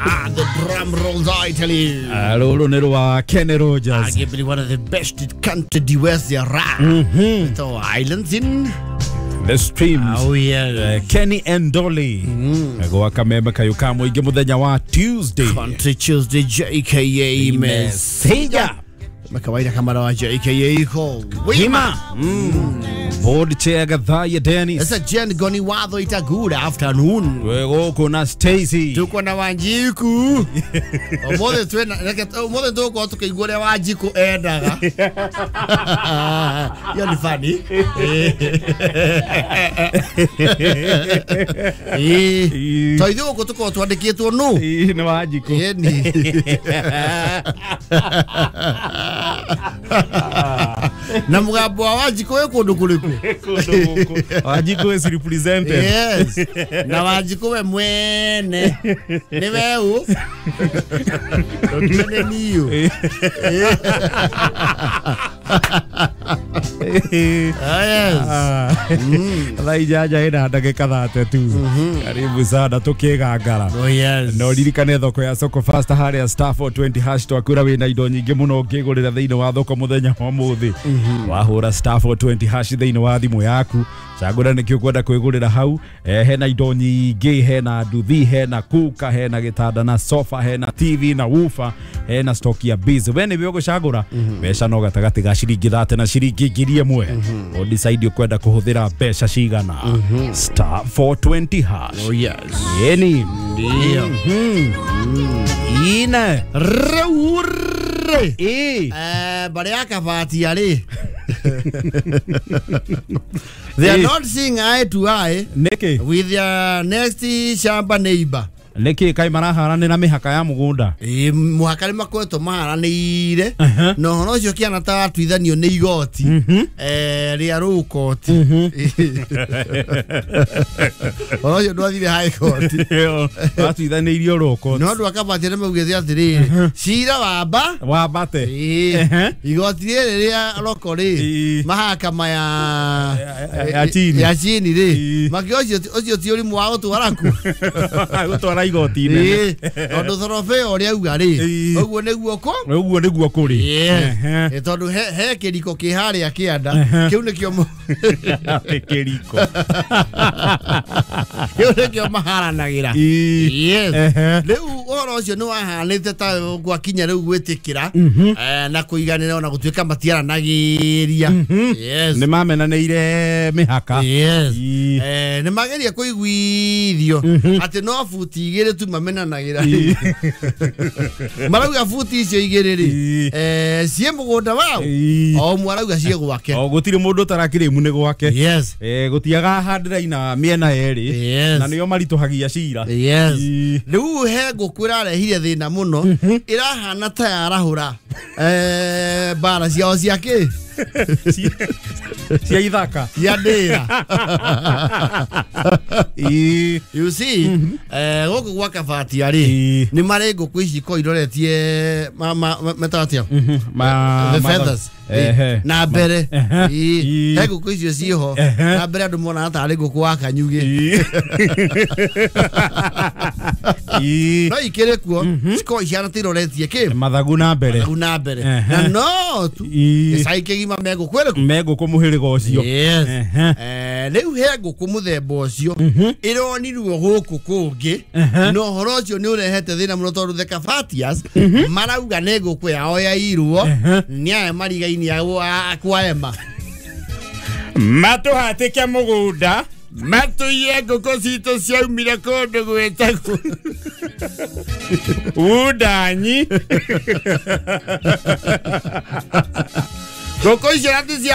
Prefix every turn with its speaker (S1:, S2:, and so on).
S1: The drum rolls, I tell you.
S2: Rũrũ nĩ rwa Kenny Rogers.
S1: Arguably one of the best country duets there are. So Islands in
S2: The Streams.
S1: Oh yeah.
S2: Kenny and Dolly. Gwa kameme kayo ka mũingĩ mũthenya wa Tuesday.
S1: Country Tuesday JKA
S2: Messenger.
S1: Makawaida kama wa JKA iko
S2: Wima. Board chair Gathaya Dennis.
S1: It's a Jen Goni Watho ita good afternoon.
S2: Twegũkũ na Stacy.
S1: Tuko na Wanjiku. Omothe twena omothe tuko tukaigua ũrĩa Wanjiku endaga. Hiyo ni funny. To ithuĩ gũkũ tũkoragwo twandĩkĩtwo nũ?
S2: Nĩ Wanjiku.
S1: Ĩni. Na mũgambo wa Wanjiku wĩ kũndũ kũrĩkũ?
S2: Wanjiku is represented.
S1: Yes. Na Wanjiku we mwene nĩ we ũ? Ndũtuone niũ. Yes.
S2: Thaa inyanya ina ndagĩka 32. Karibu sana tũkĩgangara.
S1: Oh yes.
S2: No ririkane thoko ya Soko Fast harĩa star 420 hash twakwĩra wĩna indo nyingĩ mũno ũngĩgũrĩra thĩinĩ wa thoko mũthenya wa ũmũthĩ. Wahũra star 420 hash thĩinĩ wa thimũ yaku, cagũra nĩkĩ ũkwenda kwĩgũrĩra hau. Hena indo nyingĩ, hena nduthi, hena kuka, hena gĩtanda na sofa, hena TV na woofer, hena stock ya biz. We nĩwe ũgũcagũra mbeca no gatagatĩ ga ciringi 30 na ciringi 1000. O decide ũkwenda kũhũthĩra mbeca cigana. Star 420 hash.
S1: Oh yes.
S2: Yeni.
S1: Ndio.
S2: Ine.
S1: Rĩu rĩ. Barĩ ya Kabatia rĩ. They are not seeing eye to eye.
S2: Nĩkĩ?
S1: With their next shamba neighbor.
S2: Nĩkĩ kaĩ maraharanĩra mĩhaka ya mũgũnda?
S1: Mũhaka nĩ makoretwo maharanĩire na ũhoro ũcio kĩana ta watuithanio nĩ igoti rĩa rũkoti. Ũhoro ũcio ndwathire high court.
S2: Watuithanĩirio rũkoti.
S1: No andũ a Kabatia nĩ maugĩte atĩrĩrĩ, cira wamba
S2: wambate
S1: igoti rĩrĩ rĩa roko rĩ, mahakama
S2: ya chini
S1: ya chini rĩ, makĩo ũcio ti ũrimũ wa gũtwara ku
S2: gũtwara igoti inene
S1: tondũ thorobe ũrĩa auga rĩ, ũguo nĩguo kũ
S2: ũguo nĩguo kũrĩ.
S1: Tondũ he kĩriko kĩ harĩa kĩanda kĩu nĩkĩo
S2: kĩriko
S1: kĩu nĩkĩo maharanagĩra. Yes. Rĩu ũhoro ũcio nĩ wahanĩte ta gwakinya rĩu gwĩtĩkĩra na kũiganĩra ona gũtuĩka matiaranagĩria. Yes.
S2: Nĩ mamenanĩire mĩhaka.
S1: Yes. Nĩ mageria kũiguithio atĩ no buti igĩrĩ tu mamenanagĩra. Marauga buti icio igĩrĩ rĩ, ciĩ mũgũnda wao, o ũmwe arauga ciĩ gwake.
S2: O gũtirĩ mũndũ ũtarakĩrĩmu nĩ gwake.
S1: Yes.
S2: Gũtiaga handĩra ina mĩena yerĩ na nĩo maritũhagia cira.
S1: Yes. Rĩu he ngũkũ ĩrarehire thĩna mũno, ĩrahana ta yarahũra mbara ciao cia kĩ?
S2: Cia ithaka.
S1: Cia ndĩra. You see, gũkũ gwa Kabatia rĩ, nĩ marĩ ngũkũ ici ko iroretie metaga atĩa? The feathers. Na mbere. He ngũkũ icio ciĩho. Na mbere andũ monaga tarĩ ngũkũ wa kanyugĩ. No ikĩrĩ kuo, cikoragwo ihana ta iroretie kĩ?
S2: Mathagu na mbere.
S1: Mathagu na mbere. Na no tu gĩcagi kĩgima me ngũkũ ĩrĩkũ?
S2: Me ngũkũ mũhĩrĩga ũcio.
S1: Yes. Rĩu he ngũkũ mũthemba ũcio ĩronirwo gũkũ kũngĩ na ũhoro ũcio nĩ ũrehete thĩna mũno tondũ the Kabatias marauga nĩ ngũkũ yao yairwo nĩ aya marigaini kwa ema.
S3: Matũhatĩke mũgũnda matũiye ngũkũ citũ ciaumire kũndũ gwĩtagwo Wundanyi.
S1: Ngũkũ icio nati cia